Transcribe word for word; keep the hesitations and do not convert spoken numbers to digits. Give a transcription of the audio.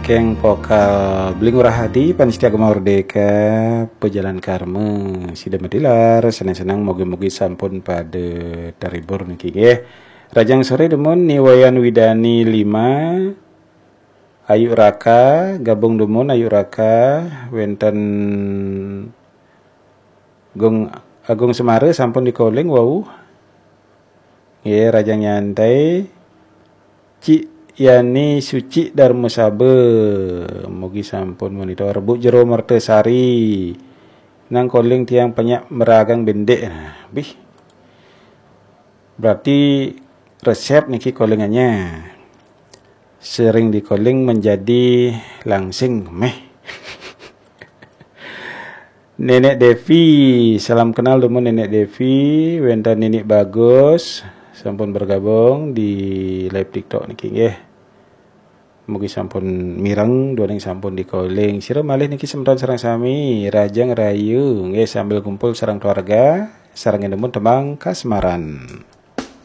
Keng vokal Beli Ngurah Adi, panitia Gema Merdeka, Pejalan Karma, sida madilar, senang-senang, mogi-mogi sampun pada terhibur niki nggih. Rahajeng sore dumun Ni Wayan Widani lima, Ayu Raka, gabung dumun Ayu Raka, wenten Gung Agung Semara sampun di-calling wau. Nggih, rahajeng nyantai. Cik Yani Suci Dharma Saba, mugi sampun monitor. Bu Jero Mertasari, nang calling tiang penyak meragang bendek. Nah, bih. Berarti resep niki callingannya. Sering di-calling menjadi langsing meh. Nenek Devi, salam kenal dumun Nenek Devi, wenten Nini Bagus, sampun bergabung di live TikTok niki nggih. Mugi sampun mireng, duaning sampun di-calling. Sira malih niki semeton sareng sami, rahajeng rahayu, nggih sambil kumpul sareng keluarga, sareng dumun tembang kasmaran.